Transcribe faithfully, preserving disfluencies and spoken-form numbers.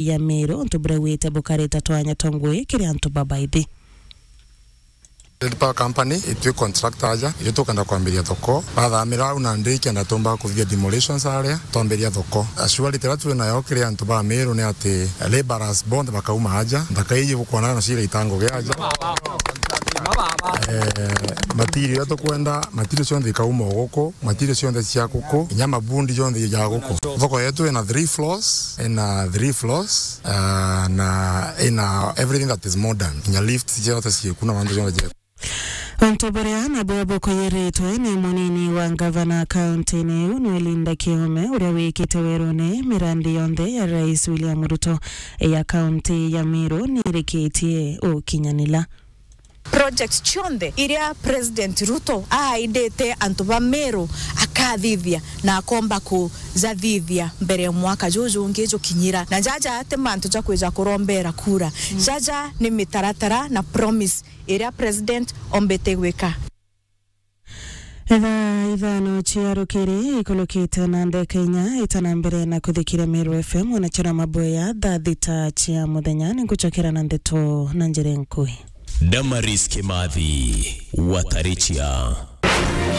ya Meru, untu buria wite bukareta twanya twa ngui kiri antu babaithi. Trade Power Company, itwi contractor aja, irio tukenda kwambiria thoko. Bathamira au nandi kenda tumba kuthithia demolitions aria, twambiria thoko. Assurity iria twi nayo kiri antu ba Meru ni ati labourers bonthe bakauma aja, nthaka iji bukwona no cira itango gia aja. Eh, material iria tukwenda, material cionthe ikauma o guku, material cionthe cia guku, inya mabundi jonthe ja guku. Thoko yetu ina three floors, ina three floors, ah, na ina everything that is modern. Inya lifts ciothe ciku na mantu jonthe jeku. Untu buria nabwo bukuyiritwe ni munini wa ngavana kaunti-ini iu, Noel Nda Kiome, uria wikite werune mirandi yonthe ya Rais William Ruto ya kaunti ya Meru nirikitie ukinyanila. Project cionthe iria President Ruto aaidite antu ba Meru akathithia na akomba kujathithia mbere ya mwaka juju ungi jukinyira. Na jaja ti mantu ja kwija kurombera kura. Mm. Jaja ni mitaratara na promise iria President ombite gwika. Thaa ithano cia rukiri ikulukite na ndeka inya itana mbere na kuthikira Meru F M, ona chira maboya thaa thita cia muthenya. Ninguchokera na ndeto na njira nkui. Damaris Kimathi, Watarichia.